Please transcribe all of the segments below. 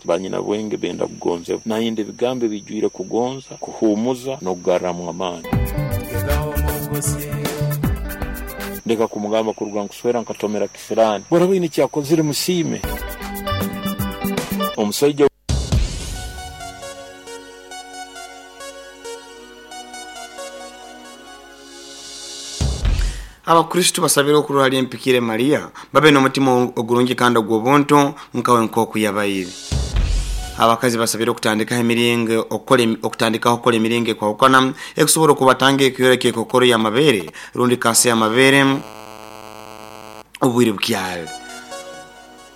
Banyinabwenge benda kugonzebwa. Nayenda ebigambo ebijwire kugonza, kuhuumuza, n'okugarramu amaani. Ndeka kumugamba kuruga nkuswera nkatomera kisiraani. Bworaba oine ekyakozire musiime. Omusaija. Abakristo basabire okurora hali empikire Maria babe n'omutima ogurungi kandi ogw'obuntu nkawe nk'oku yabaire. Abakazi basabire okutandikaho emiringo okukora okutandikaho okukora emiringo ekwahukana ekusobora okubatanga ekiyora ky'ekokoro y'amabeere rundi kansa y'amabeere obwire bukyali.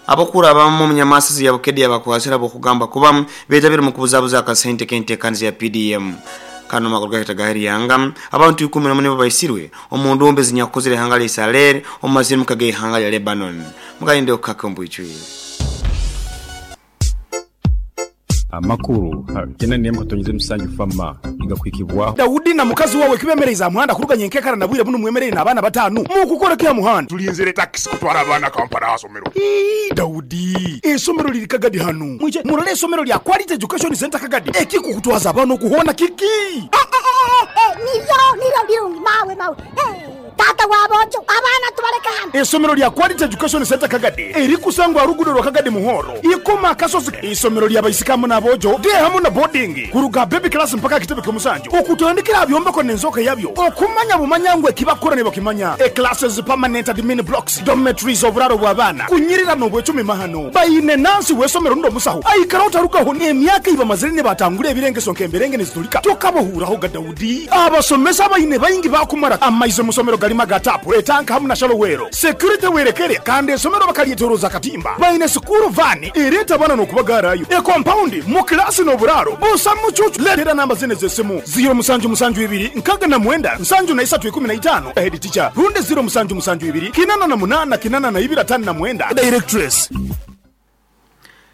Abakuru abamu omunyamasisi ya Bukedea bakwasire ab'okugamba kuba betabire mu kubuzabuza akasente k'enteekaniza ya PDM. Kano makuru gahita gahiriyanga abantu 11 nibo baisirwe omu ndumbe zinyakukozere ihanga lya Israel omu mazirimuka g'ihanga lya Lebanon. Mugalinde okukaka ombwijwire. Amakuru 8.7 fama igakwikibwaho. Daudi na mukazi wawe kibemereize aha muhanda kuruga nyenkekara na bwire bunu mwemereire n'abaana batano mukukora ki aha muhanda? Tulinzire takisi kutwara abaana Kampala aha somero. Ii, Daudi, esomero liri Kagadi hanu. Mwije murole esomero lya Quality Education Center Kagadi. Ekikukutwaza abaana okuhona kiki? Niryo niryo birungi mawe mawe. Tata wabonjo abaana tubaleka hano. Esomero lya Quality Education Center Kagadi erikusangwa rugudo rwa Kagadi Muhoro ikoma akasozi. Isomero lya baisikamu n'abojo de hamu na boarding kuruga baby class mpaka kitebe ky'omusanju okutandikira byombeko n'enzoka yabyo okumanya bumanya ngwe kibakora ne bakimanya. E classes permanent admin blocks dormitories oburaro bw'abaana kunyirira n'obwecumi mahano bayine nansi w'esomero ndo musaho aikara otarugaho n'emyaka ibamazire ne batangura ebirengeso nk'emberenge nezitulika tokabohuraho ga Daudi. Abasomesa bayine bayingi bakumara amaize musomero galima gatapu etanka hamu na shalowero security werekere kandi esomero bakalyetoroza katimba bayine sukuru vani ereta bana n'okubagarayo e compound mu klasi n'oburaro busa mucucu. Letera namba zine z'esimu 0 musanju musanju ibiri nkaga na mwenda nsanju na isatu ikumi na itano head teacher runde 0 musanju musanju ibiri kinana na munana kinana na ibiri atano na mwenda directress.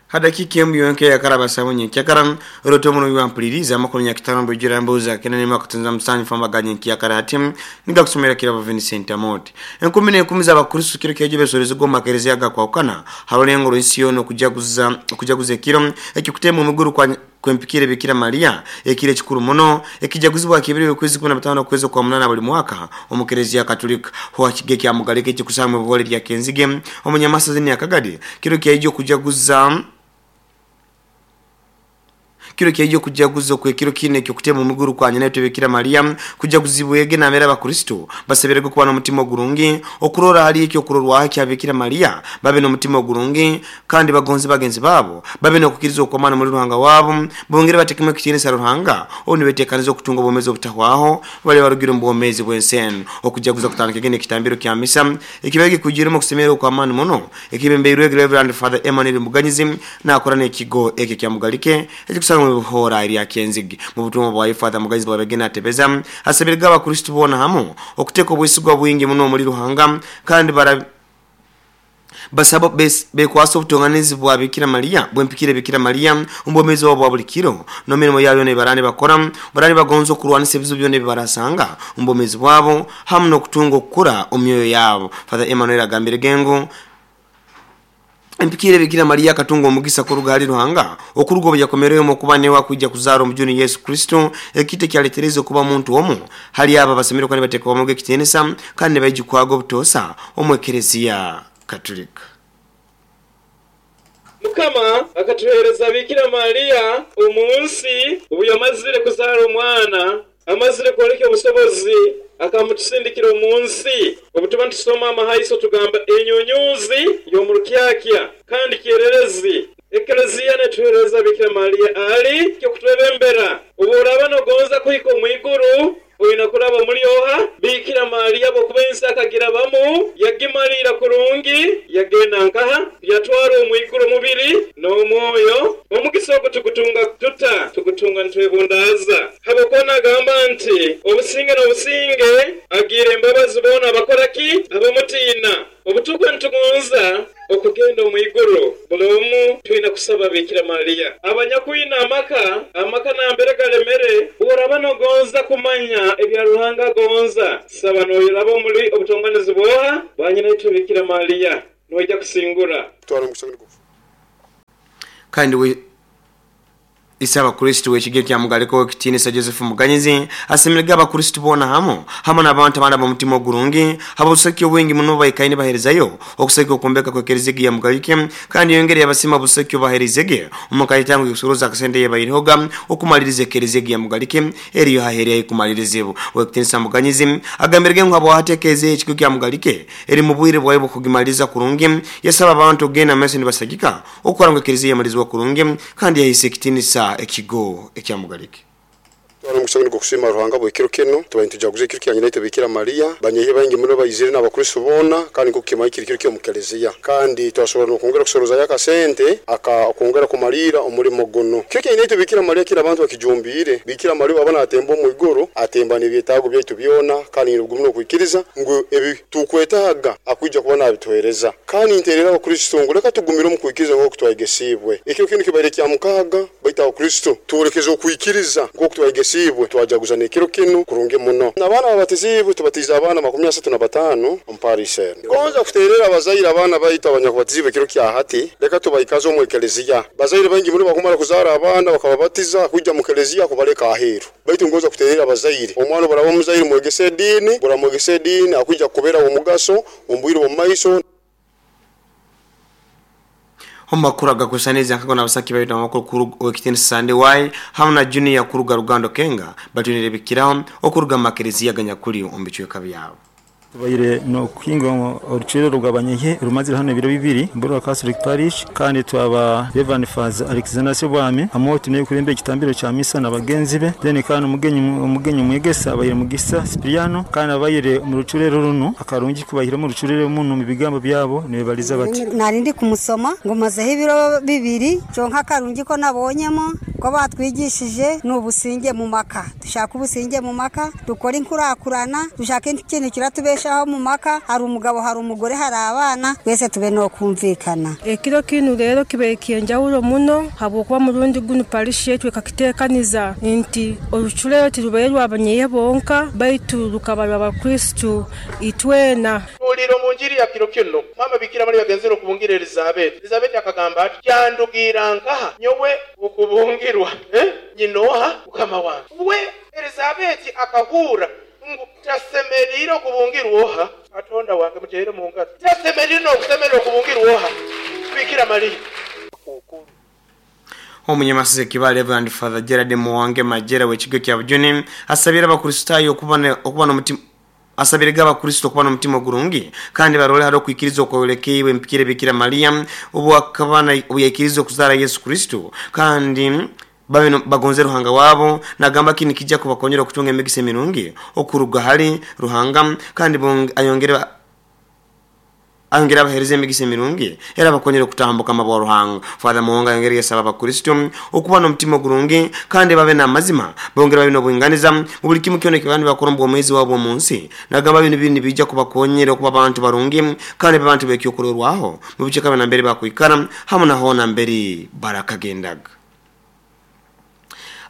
Hadakika emu yonke yakaraba sabunye kyakara roto muno yampuliriza amakuru nyakitano mbujira mbuza kenene makutunza musanyu famba ganye kyakara ati niga kusomera kirabo Vincent Amoti. Enkumi n'enkumi z'abakristo kiro kyeje besoreza goma kereziya gakwakana harolengo rw'ensi yono okujaguza ekiro ekikutema omuguru kwa kwempikire Bikira Maria ekire kikuru muno ekijaguzibwa kibiri kwezi 15 kwezi kwa 8 buli mwaka omukereziya Katolika ho akige kya mugaleke kikusamwe buhole lya Kenzige omunyamasa ya Kagadi kiro kyeje kujaguza kiro kyejo kujaguza kwe kiro kine kyo kutema omuguru kwa nyina Bikira Maria kujaguzibwege na mera abakristo baseberego kuba n'omutima ogurungi okurora hali ekyo kurorwa kya Bikira Maria babe n'omutima ogurungi kandi bagonze bagenzi babo babe n'okukiriza okwamana muri Ruhanga wabo bongere batekeme kitinisa Ruhanga oni betekaniza okutunga obwomezi obutahwaho bali barugira mu bwomezi bw'ensi okujaguza kutandika gene kitambiro kya misa ekibege kujirimo kusemera okwamana muno ekibembeirwe Reverend Father Emmanuel Muganyizi nakora n'ekigo eke kya Mugalike ekikusanga buhora eri Kenzigi mu butumwa bwa Father Muganyizi bwabegena atebeza asabirga abakristo bona hamu okuteka obwesigwa bwingi muno muri Ruhanga kandi basaba bekwasa obutonganizi bwa Bikira Maria bwempikire Bikira Maria ombomezi wabo buli kiro no mirimo yayo ne barani bakora barani bagonzo okurwanisa ebizibu byone bibarasanga ombomezi bwabo hamu n'okutunga okukura omyoyo yabo. Father Emmanuel agambire gengo Empikire Bikira Maria katunga omugisa kuruga hali Ruhanga okurugo byakomereyo mu kuba newa kujja kuzara omujuni Yesu Kristo ekite kyaletereze kuba muntu omu hali aba basemero kandi bateka omuge kitenesa kandi bayijikwago obutosa omwekereziya Katolika. Mukama akatuhereza Bikira Maria omunsi obu yamazire kuzara omwana amazire kwoleka obusobozi akamutusindikira omunsi. Obu tuba nitusoma amahaiso tugamba enyunyuzi y'omurukyakya kandi kyererezi. Ekereziya netuhereza Bikira Maria ali kyokutwebembera. Obu oraba nogonza kuhika omwiguru oyina kuraba muri oha Bikira Maria bwokuba ensi akagira bamu yagimalira kurungi yagenda nkaha yatwara omwiguru omubiri n'omwoyo. Omugisa ogwo tugutunga tuta tugutunga nitwebundaza habwokuba nagamba nti obusinge n'obusinge agira embabazi boona abakora ki abamutiina. Obutukwe nitugonza okugenda omwiguru buli omu twina kusaba Bikira Maria. Abanyakwina amaka nambere galemere oraba nogonza kumanya ebya Ruhanga agonza saba noyeraba omuli obutonganizi bwoha banyina itwe Bikira Maria noija kusingura. Kandi ise abakristo w'ekigo kya Mugalika w'ekitiinisa Joseph Muganyizi asemerege abakristo boona hamu hamu n'abantu abandi ab'omutima ogurungi habusaki obwingi muno baikaine baherezayo okusaka okumbeka kw'ekereziya ya Mugalike. Kandi yongere yabasima obusaki obaherizege omu kaitango kusoroza akasente yebairehoga okumaliriza ekereziya ya Mugalike eriyo haherya kumalirizibu. W'ekitiinisa Muganyizi agambirege ngu habwahatekeeze ekigo kya Mugalike eri mu bwire bwayo bw'okugimaliriza kurungi, yasaba abantu okugenda mumaiso nibasagika okukora ngu ekereziya yamalizibwa kurungi kandi yahisa ekitiinisa ekigo ekya Mugalike. Twara omukisa guno gw'okusiima Ruhanga bw'ekiro kinu, tubaire nitujaguza ekiro kya nyina itwe Bikira Mariya, banyehi baingi muno baizire n'abakristo boona, kandi nk'oku kimanyi kiri kiro ky'omu keleziya. Kandi twasobora n'okwongera kusorozayo akasente aka okwongera kumaliira omulimo gunu. Kiro kya nyina itwe Bikira Mariya kinu abantu bakijumbiire. Bikira Mariya obu aba naatemba omu iguru, atemba n'ebyetaago byaitu byona, kandi nyine obugumu n'okwikiriza ngu ebi tukwetaaga akwija kuba naabituheereza. Kandi nteerera Abakristo ngu leka tugumire omu kwikiriza nk'oku twayegesiibwe. Ekiro kinu kibaire kya mukaaga, baitu Abakristo twolekeze okwikiriza nk'oku twayegesiibwe, twajaguza n'ekiro kinu kurungi muno. N'abaana ababatiziibwe, tubatiize abaana 35 omu parish enu. Gonza kuteerera abazaire abaana baitu abanyakubatiziibwe ekiro kya hati, leka tubaikaze omu ekeleziya. Bazaire baingi muno bakumara kuzaara abaana bakababatiza kwija mu keleziya kubaleka aheeru. Baitu ngonza kuteerera abazaire, omwana obu araaba omuzaire mwegese ediini, obu oramwegesa ediini akwija kukubera w'omugaso omu bwire bw'omu maiso. Omu makuru agakusaniza nkago n'abasaki baitu amakuru ow'ekitiinisa Sande Y hamu na Junior kuruga Rugando Kenga batunire bikiraho okuruga mu makereziya ganyakuli omu bicweka byabo. Tubaire nokuhinga orucwero rw'abanyehe rumazire hano ebiro 2 Mburwa Catholic Parish, kandi twaba Reverend Father Alexander Sebwami amoto niwe kuremba ekitambiro kya misa na bagenzi be, then kandi omugenyi omwegesa abaire Mugisa Cipriano, kandi abaire mu rucurero runo akarungi kubahira mu rucurero muno mu bigambo byabo nibebaliza bati nari ndi kumusoma ngo mazeho ibiro 2 cyonka akarungi ko nabonyemo ko batwigishije n'ubusinge mu maka, dushaka ubusinge mu maka, dukora inkurakurana, dushaka ikintu kiratubeshaho mu maka, hari umugabo hari umugore hari abana, twese tube no kumvikana. Ekiro kinu rero kibe kienjawulo muno habwokuba murundi guno parish yetu ekakitekaniza nti orucurero tirubaire rw'abanyeye bonka baitu rukaba rw'abakristu itwena. Uliro mu njiri ya kiro kino mama Bikira Mariya yagenzere okubungira Elizabeth. Elizabeth akagamba ati kyandugira nkaha nyowe okubungirwa nyinoha mukama wange. We Elizabeth akahura ngu tasemerire okubungirwa oha Katonda wange mutere mu ngaro, tasemerire n'okusemerera okubungirwa oha Bikira Mariya. Omunyamasize Kibale Reverend Father Gerard Muwange Majera w'ekigo kya Bujuni asabira abakristayo okuba n'omutima asabirega abakristo okuba n'omutima ogurungi kandi barole hari okwikiriza okwolekeibwe empikire Bikira Mariya obu akaba obu yaikiriza okuzaara Yesu Kristo kandi babe bagonze Ruhanga wabo. Nagamba kini kijja kubakonyera okutunga emigisa emirungi okuruga hali Ruhanga kandi ayongere abahereza emigisa emirungi era bakonyera okutambuka amabwa Ruhanga. Father Muwonga ayongere yasaba abakristo okuba n'omutima ogurungi kandi babe n'amazima, bongere babe n'obwinganiza mu buli kimu kyona ekibandi bakora omu bwomeezi bwabo omu nsi. Nagamba bino bini bijja kubakonyera okuba abantu barungi kandi abantu bekyokurorwaho mu bicweka nambere bakwikara hamu na hoona mbere barakagendaga.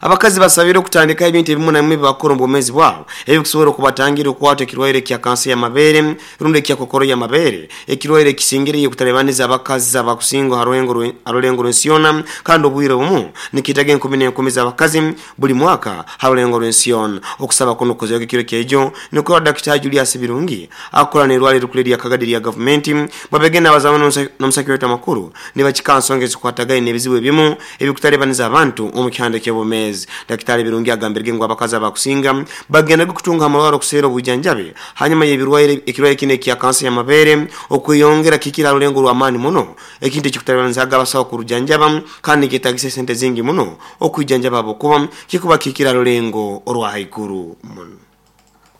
Abakazi basabire okutandika ebintu ebimu na bimwe bibakora omu bwomeezi bwabo ebikusobora okubatangira okukwata ekirwaire kya kansa y'amabeere rundi ekya kokoro y'amabeere, ekirwaire ekisingire okutalibaniza abakazi abakusinga harulengo rw'ensi yoona, kandi obwire obumu nikitaga enkumi n'enkumi z'abakazi buli mwaka harulengo rw'ensi yoona. Okusaba kuno kukozerwa ekiro kyaijo nikukorwa Dr. Julius Birungi akora n'erwaliro rikuru erya Kagadi lya gavumenti babegenda abazamu n'omusaki waitu amakuru nibakika nsonga ezikwatagaine n'ebizibu ebimu ebikutalibaniza abantu omu kihanda ky'obwomeezi. Daktari Birungi agambirege ngu abakazi abakusinga bagendaga kutunga amarwaro okuseera obujanjabi hanyuma y'ebirwaire ekirwaire kino ekya kansa y'amabeere okweyongera kikira rulengo rw'amaani muno, ekintu ekikutalibanizaga abasawo kurujanjaba kandi nikyetagisa esente zingi muno okwijanjaba habwokuba kikuba kikira rulengo orwa haiguru muno.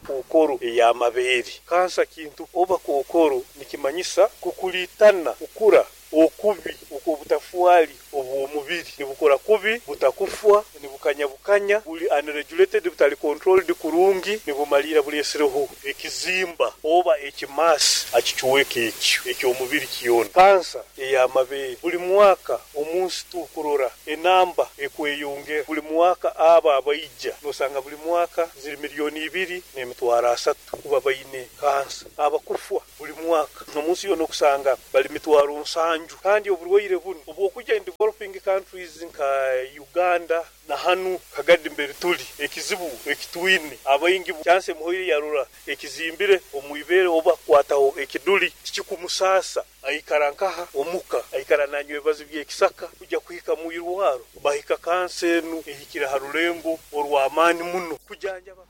Kokoro ey'amabeere kansa kintu oba kokoro nikimanyisa kukulitana kukura okubi okw'obutafwali obw'omubiri nibukora kubi, butakufwa, nibukanyabukanya, buli unregulated, butali controlled kurungi, nibumalira bulesireho ekizimba oba ekimasi akicuweka ekyo eky'omubiri kyona. Kansa ey'amabeere buli mwaka omunsi tukurora enamba ekweyongera buli mwaka, abo abaija nosanga buli mwaka ziri 2,300,000 kuba baine kansa. Abakufwa buli mwaka omunsi yoona okusanga bali 70,000, kandi oburwaire bunu obwokujja in developing Developing countries nka Uganda na hanu Kagadi mbere tuli, ekizibu ekitwine abaingi chansi emuhoire yarora ekizimbire omwibere oba kukwataho ekiduli tikikumusaasa, aikara nkaha omuka, aikara nanywa ebibazi by'ekisaka kujya kuhika mwirwaro bahika kansa enu ehikire ha rulengo orw'amaani muno kujanjaba.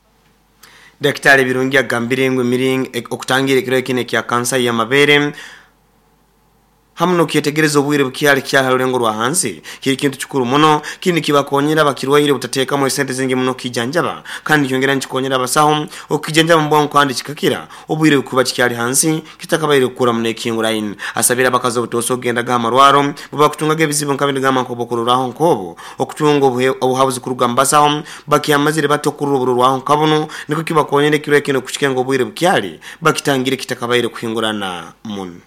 Dakitari Birungi agambire ngu emiringo okutangira ekirwaire kinu ekya kansa y'amabeere hamu n'okyetegereza obwire bukyali kyali ha rulengo rwa hansi kiri kintu kikuru muno. Kinu nikibakonyera abakirwaire obutateekamu esente zingi muno kukijanjaba, kandi nikyongera nikikonyera abasaho okukijanjaba mu bwangu kandi kikakira obwire bukuba kikyali hansi kitakabaire kukura muno ekihinguraine. Asabire abakazi obutoosa okugendaga ha marwaro bwebakutungaga ebizibu nka binu gamba nk'obwokurorraho nk'obu okutunga obuhabuzi kuruga mu basaho bakyamazire bata okurora oburorwaho nka bunu nikwo kibakonyera ekirwaire kinu kukikenga obwire bukyali bakitangire kitakabaire kuhingurana muno.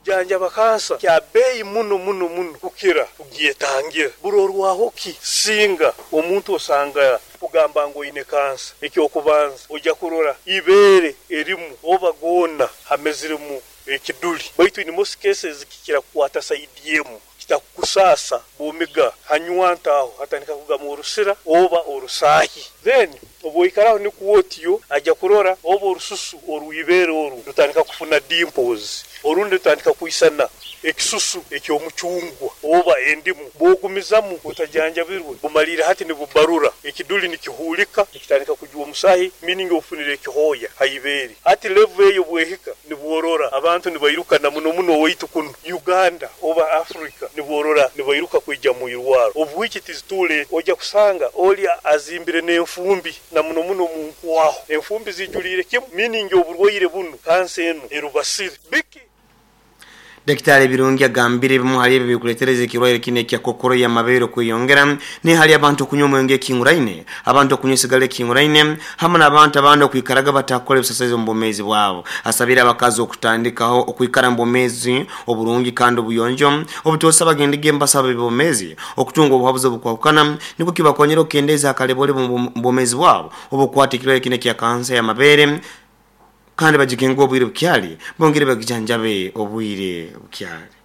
Kujanjaba kansa kya beeyi muno muno muno kukira kugyetangira. Burorwaho ki singa omuntu osanga kugamba ngu oine kansa? Eky'okubanza, oija kurora ibeere erimu oba goona hameziremu ekiduli. Baitu in most cases kikira kukwata sayidi emu. Kitakukusaasa bwomiga hanywanto aho hatandika kugamu orusira oba orusaahi. Then obu oikaraho nikwo otyo aja kurora oba orususu orw'ibeere oru rutandika kufuna dimples orundi rutandika kwisana ekisusu eky'omucungwa oba endimu. Bwogumizamu otajanjabirwe bumaliire hati nibubarura, ekiduli nikihuulika nikitandika kujwa omusahi meaning ofunire ekihooya ha ibeere. Hati level eyo bwehika nibworora abantu nibairuka na muno muno owaitu kunu Uganda oba Africa nibworora nibairuka kwija mwirwaro of which it is too late. Oja kusanga oli azimbire nenfumbi na muno muno munkwaho enfumbi zijuliire kimu meaning oburwaire bunu kansa enu erubasire. Biki? Dakitari Birungi agambire ebimu hali ebyo ebikuletereza ekirwaire kinu ekya kokoro y'amabeere okweyongera ni hali abantu okunywa omwenge ekihinguraine, abantu okunywa esigara ekihinguraine hamu n'abantu abandi okwikaraga batakukora ebisasaizi omu bwomeezi bwabo. Asabire abakazi okutandikaho okwikara mu bwomeezi oburungi kandi obuyonjo obutoosa bagendege mu basaho b'ebyomeezi okutunga obuhabuzi obukwahukana nikwo kibakonyere okukendeeza akalebolebo omu bwomeezi bwabo obukukwata ekirwaire kinu ekya kansa y'amabeere kandi bagigenge obwire bukyali, bongere bagijanjabe obwire bukyali.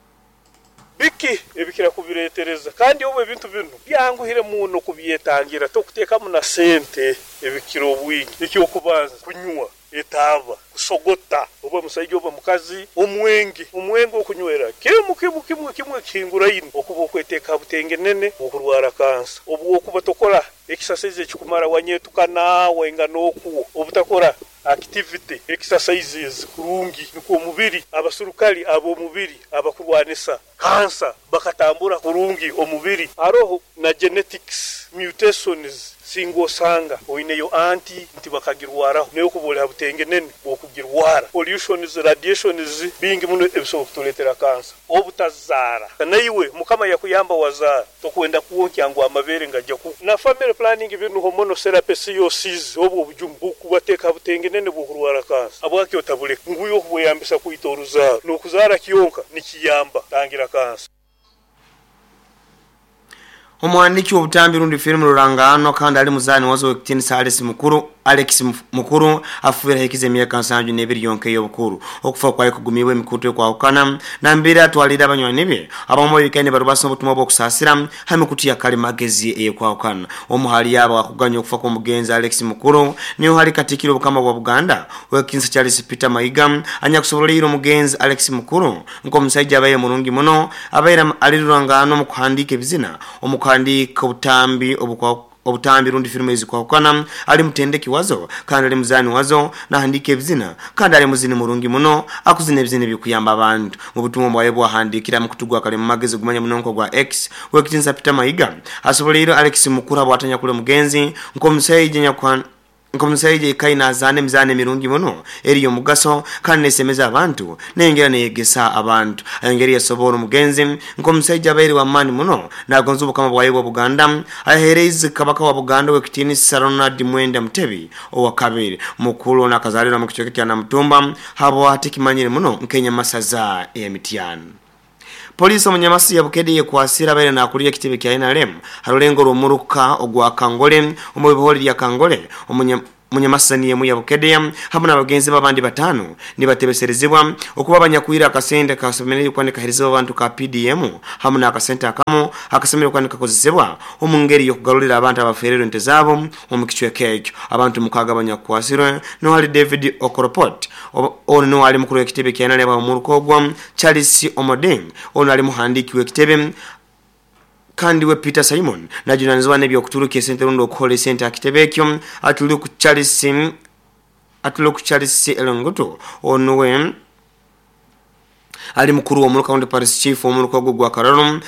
Biki ebikira kubireetereza? Kandi obu ebintu binu byanguhire muno kubyetangira, tokuteekamu na sente ebikira obwingi. Eky'okubanza, kunywa etaaba, kusogota, oba musaija oba mukazi, omwenge. Omwenge okunywera kimu kimu kimu kimu ekihinguraine okuba okweteeka ha butengenene bw'okurwara kansa. Obwokuba tokora ekisasaizi ekikumara wanyetukana waingana okwo, obutakora Activity, exercises, kurungi nikwo omubiri, abasurukali ab'omubiri abakurwanisa kansa bakatambura kurungi omubiri. Haroho na genetics mutations singa osanga oineyo anti nti bakagirwaraho nawe okuba oli ha butengenene bw'okugirwara. Pollutions, radiations bingi muno ebisobora kutuletera kansa. Obutazaara. Naiwe Mukama yakuyamba wazaara tokwenda kwonkya ngu amabeere ngaja ku. Na family planning binu hormonal therapy COCs obwo obujumu bukubateeka ha butengenene bwokurwara kansa. Habwaki otabuleka? Ngu iwe okubweyambisa kwita oruzaaro nokuzaara kyonka nikiyamba kutangira kansa. Omuhandiiki w'obutambi rundi firimu rurangaanwa kandi ali muzaani wazo ow'ekitiinisa Alex Mukuru, Alex Mukuru, afiire ahikize emyaka 72 yonka ey'obukuru. Okufa kwaye kugumiibwe emikutu ekwahukana nambere atwaliire abanywani be abamu abaikaire nibarubasa obutumwa bw'okusaasira ha mikutu ya kalimagezi eyekwahukana. Omu hali abo akuganya okufa kw'omugenzi Alex Mukuru niho hali Katikkiro Obukama bwa Buganda, Ow'ekitiinisa Charles Peter Mayiga anyakusoboleire omugenzi Alex Mukuru Nk'omusaija abaire murungi muno, abaire ali ruranganwa omu kuhandiika ebizina, omu kuhandiika obutambi obutambi rundi firimu ezikwahukana, ali mutendeki wazo, kandi ali muzaani wazo, nahandiika ebizina, kandi ali muzini murungi muno, akuzina ebizina ebikuyamba abantu. Mu butumwa bwaye obwahandiikire ha mukutu gwa kalimagezi ogumanya muno nk'ogwa X, Ow'ekitiinisa Peter Mayiga asoboleire Alex Mukuru habwatanyakuli omugenzi nk'omusaija anyakuha Nk'omusaija aikaire naazaana emizaano emirungi muno eri y'omugaso kandi n'esemeza abantu, n'eyongera n'eyegesa abantu. Ayongeire yasoboora omugenzi nk'omusaija abaire w'amaani muno n'agonza Obukama bwaye bwa Buganda. Aheereize Kabaka wa Buganda Ow'ekitiinisa Ronald Mwenda Mutebi owakabiri. Mukulu ono akazaalirwa mu kicweka kya Namutumba habwahati ekimanyire muno nk'enyamasaza eya Mityana. Poliisi omu Nyamasi ya Bukedde yekwasire abaire nakulira ekitebe kya nrm ha rulengo rw'omuruka ogwa Kangole omu bihori lya Kangole omu. munyamasani yemu ya Bukedea hamu n'abagenzi babandi batano nibatebeserezebwa okuba abanyakwira akasente kasemereire kuba nikaheerezebwa abantu ka PDM hamu n'akasente akamu akasemereire kuba nikakozesebwa omu ngeri y'okugarurira abantu abafererwe ente zaabo omu kicweka ekyo. Abantu mukaaga abanyakukwasirwe niho hali David Okoropot, ono niwe ali mukuru w'ekitebe kya NRM omuruka ogwo, Charles Omoding ono ali muhandiiki w'ekitebe, Kandi we Peter Simon najunanizibwa n'ebyokuturuka esente rundi okuhola esente aha kitebe ekyo. Atuluku Charles Atuluku Charles Elongutu ono we ali mukuru w'omuruka rundi Parish Chief w'omuruka ogwo ogwa Karoro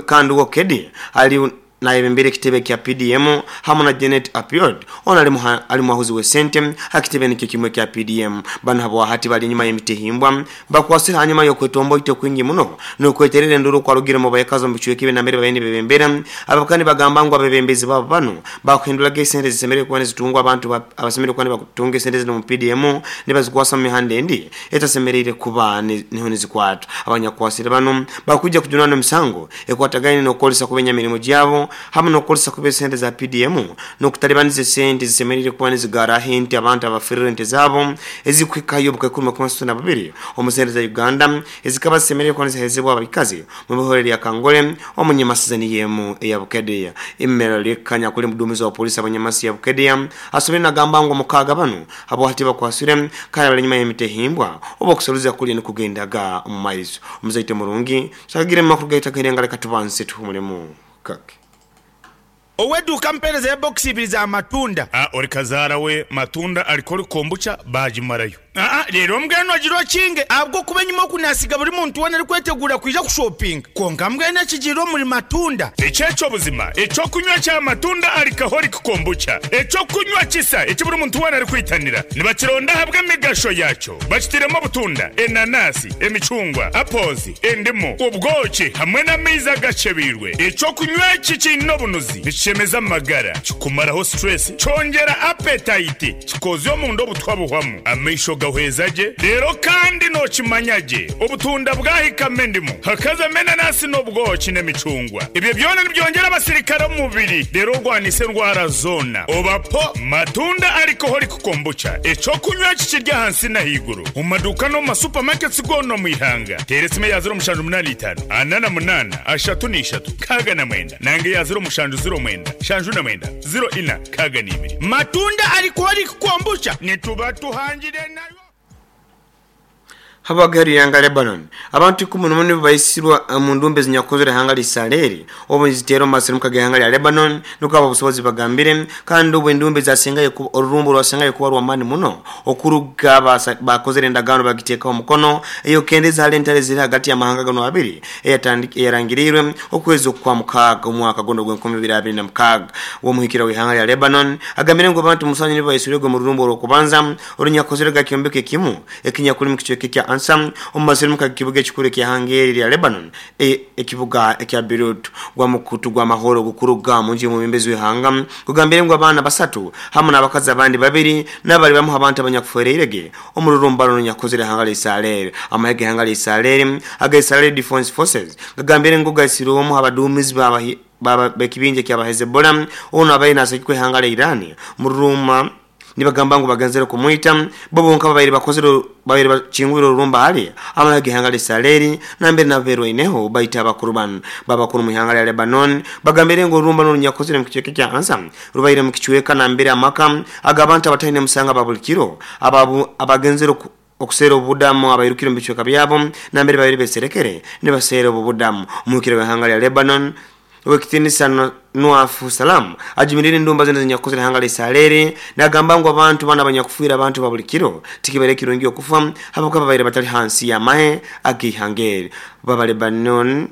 kandi wo Kedi ali nayebembera ekitebe kya PDM hamu na Janet Apiod ono ali ali mwahuzi w'esente ha kitebe nikyo kimwe ekya PDM. Banu habwahati bali enyuma y'emitihimbwa Bakwasire hanyuma y'okwetomboita okwingi muno n'okweterera enduru okwarugire omu baikazi omu bicweka ebi nambere babaire nibebembera. Abakaba nibagamba ngu abebembezi baabo banu bakuhinduraga esente ezisemeriire kuba nizitungwa abantu abasemeriire kuba nibatunga esente zinu omu PDM nibazikwasa omu mihanda endi etasemeriire kuba niho nizikwatwa. Abanyakukwasire banu bakwija kujunanwa emisango ekwatagaine n'okukozesa kubi enyamirimo gyabo hamu n'okukozesa kubi esente za PDM n'okutalibaniza esente ezisemeriire kuba nizigarraho ente abantu abaferirwe ente zaabo ezikuhikayo obukaikuru makumi asatu na bubiri omu sente za Uganda ezikaba zisemeriire kuba niziheezebwa abaikazi omu bihore lya Kangole omu Nyamasiza niyo emu eya Bukedea. Emerald Lekanya kuli muduumizi wa poliisi aba Nyamasi ya Bukedea asobire nagamba ngu omukaaga banu habwahati bakwasire kandi bali enyuma y'emitehimbwa obu okusaruza kuliyo nikugendaga omu maiso. Omuzaite murungi Sagire mu makuru gaitu ag'eirenga leka tubanze tuhumulemu kake. Ow'eduuka ampeerezeyo bokisi ibiri za matunda. A Ori kazaara we matunda alcoholic kombucha baagimarayo. Aa Reero mbwenu ogire okinge ahabw'okuba enyima oku naasiga buri muntu weena arikweteguura kwija kushopinga. Kwonka mbwenu ekigiire omuri matunda. Eki eky'obuzima, eky'okunywa kya matunda alcoholic kombucha, eky'okunywa kisa eki buri muntu weena arikwitanira. Nibakironda ahabw'emigasho yaakyo. Bakitairemu obutunda, enanasi, emicungwa, apples, endimu, obwoki hamwe n'amaizi agakyebeirwe. Eky'okunywa eki kiine obunuzi, nikishemeza amagara, kikumaraho stress, kyongyera appetite, kikoozya omunda obutwa buhwamu, amaisho gahweza gye, reero kandi nookimanya gye obutunda bwahikamu endimu, hakazamu enanasi n'obwoki n'emicungwa. Ebyo byona nibyongyera abasirikare omu mubiri reero orwanise endwara zoona. Oba po Matunda Alcoholic Kombucha, eky'okunywa eki kiri ahansi n'ahaiguru omu maduuka n'omu ma supermarkets goona omu ihanga. Teera esimu eya 0785 48 33 69 nanga eya 0709 79 04 62. Matunda Alcoholic Kombucha nituba tuhangire nayo. Habw'ageheru y'ihanga Lebanon, abantu ikumu n'omu nibo baisirwe omu ndumba ezinyakukozerwe ihanga lya Isaleeri obu niziteera omu masirimuka g'ihanga lya Lebanon, nukwo ab'obusobozi bagambire. Kandi obu endumba ezasengayo kuba orurumba orwasengayo kuba rw'amaani muno okuruga baakozere endagaano bagiteekaho omukono ey'okukendeza hali entaro eziri hagati y'amahanga ganu abiri eyarangiriirwe okwezi Okwamukaaga omwaka gunu ogw'enkumi ibiri abiri na mukaaga. W'omuhikirra w'ihanga lya Lebanon agambire ngu abantu musanju nibo baisirwege omu rurumba orw'okubanza orunyakukozerwe ha kyombeko ekimu ekinyakuli mu kicweka ekya Ansa omu masirimuka g'ekibuga ekikuru eky'ihanga eri erya Lebanon, ekibuga ekya Beirut. Gwa mukutu gw'amahoro ogukuruga omu nju y'omwebembezi w'ihanga gugambire ngu abaana basatu hamu n'abakazi abandi babiri nabo bali bamu h'abantu abanyakufwereirege omu rurumba runu runyakukozere ihanga lya Isaleeri. Amahe g'ihanga lya Isaleeri aga Israeli Defense Forces gagambire ngu gaisire omu h'abaduumizi b'ekibinja ekyaba Hezbollah onu abaire nasagikwa ihanga lya Iran mu rurumba. Nibagamba ngu bagenzere kumwita, bo bonka babaire bakozere babaire bakingwire orurumba hali amahe g'ihanga lya Isaleeri nambere nabo berwaineho baita abakuru banu. Babakuru omu ihanga lya Lebanon bagambire ngu orurumba n'orunyakukozire omu kicweka ekya Ansa rubaire omu kicweka nambere amaka ag'abantu abataine musango aba buli kiro abagenzere okuseera obubudamu abairukire omu bicweka byabo nambere babaire beserekere nibaseera obubudamu. Omuhikire w'ihanga lya Lebanon Ow'ekitiinisa Noaf Salam ajumirire endumba zona ezinyakukozire ihanga lya Isaleeri nagamba ngu abantu banu abanyakufiire abantu ba buli kiro tikibaire kirungi okufa habwokuba babaire batali hansi y'amahe ag'ihanga eri. Baba Lebanon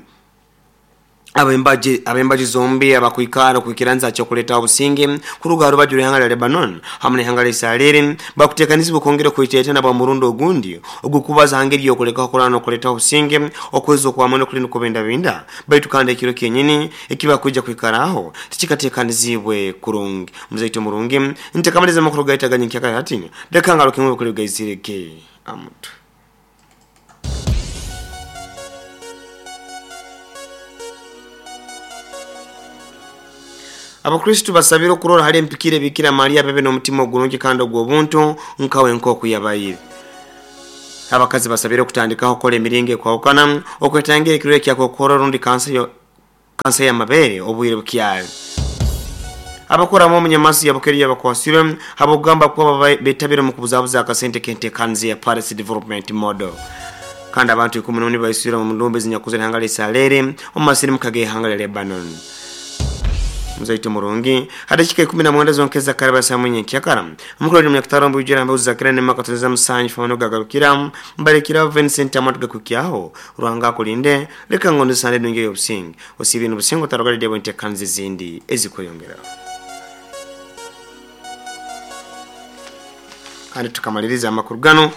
Ab'embaju zombi abakwikara okwikiraniza ha ky'okuleetaho obusinge kuruga ha rubaju rw'ihanga lya Lebanon hamu n'ihanga lya Isaleeri bakuteekanizibwa kwongera okweteetana bwa murundi ogundi ogw'okubaza ha ngeri y'okulekaho kurwana n'okuleetaho obusinge okwezi okw'amaani okuli nikubindabinda baitu kandi ekiro kyenyini eki bakwija kwikaraho tikikateekaniziibwe kurungi. Muzaito murungi, ntekamaliza amakuru gaitu aga nyenkyakara hati, leka ngarukemu ebikuru ebigaizirege amutwe. Abakristu basabire okurora hali empikire Bikira Maria bebe n'omutima ogurungi kandi ogw'obuntu nkawe nk'oku yabaire. Abakazi basabire okutandikaho okukola emiringo ekwahukana okwetangira ekirwaire kya kookoro rundi kansa y'amabeere obwire bukyali. Abakuramu omunyamasu ya Bukeria bakwasirwe habw'okugamba kuba betabire omu kubuzabuza akasente k'enteekaniza ya Paris Development Model. Kandi abantu 11 baisirwe omu ndumbi ezinyakuzire ihanga lya Isaleeri omu masirimuka g'ihanga lya Lebanon. Muzaito murungi, ha dakika 19 zonka ezakaraba saa mwinyi nkyakara. Omukuru oli munyakitaro mbwijura ambaho zakira ne makatoniza musanju fano gagarukira mbalekira Vincent amatu gakukyaho Ruhanga akulinde leka ngondo sande nungi y'obusinge osibye n'obusinge otarogalidde bwenteekaniza ezindi ezikweyongera. Kandi tukamaliriza amakuru gano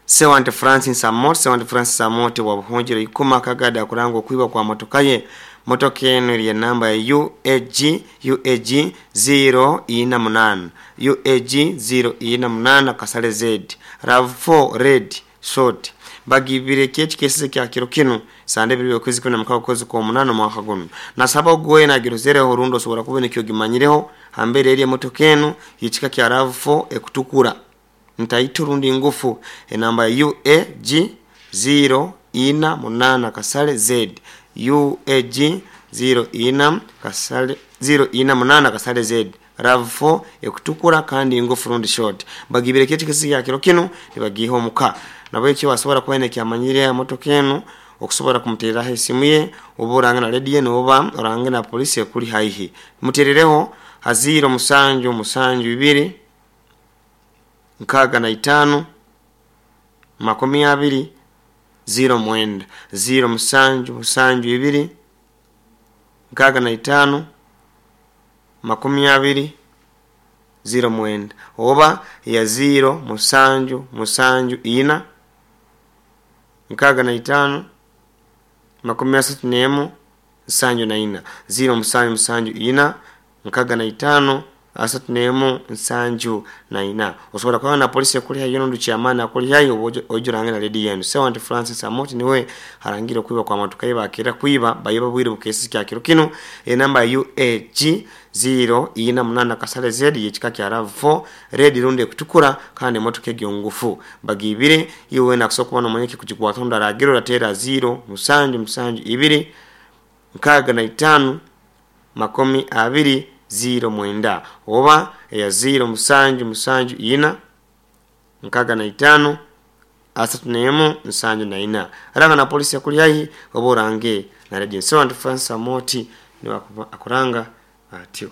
Sewante Francis Amooti. Sewante Francis Amooti wa Buhungiro Ikuma Kagada akuranga okwiba kwa motoka ye. Motoka eno eri enamba ya UAG UAG 048 UAG 048 Kasale Z RAV4 Red Short bagibire kyeki kesize kya kiro kinu sande bibiri okwezi 16 okwezi kw'omunaana omwaka guno. Nasaba ogwe nagirozereho rundi osobora kuba nikyo ogimanyireho hambere eri emotoka eno y'ekika kya RAV4 ekutukura ntaito rundi ngufu enamba ya UAG 048 Kasale Z UAG 04 Kasale 048 Kasale Z RAV4 ekutukura kandi ngufu rundi short bagibire kyeki kesi ya kiro kinu nibagiha omuka nabo ekyo wasobora kuba nekyamanyire emotoka eno okusobora kumutereraho esimu ye oba orange na radio noba orange na polisi ekuli haihi muterereho ha 0 7 7 2 65 20 09 0 7 7 2 65 20 09 oba ya 0 7 7 4 65 31 74 0 7 7 4 65 31 74. Osobola kuba na polisi ekuli haihi nondi chairman akuli haihi ojurange na lady yenu. Sewante Francis Amooti niwe arangira okwiba kwa motoka ye bakira kwiba bayiba bwire bukesi kya kiro kino enamba ya UAG 048 Kasale Z y'ekika kya RAV4 red rundi ekutukura kandi emotoka egyo ngufu bagibire iwe nakusobola kuba nomanya ekikugikwata ondi aragira oratera 0 7 7 2 65 20 09 oba eya 0 7 7 4 65 31 74. Aranga na polisi yakuli haihi oba orange na radio. Sewante Francis Amooti niwe akuranga atyo.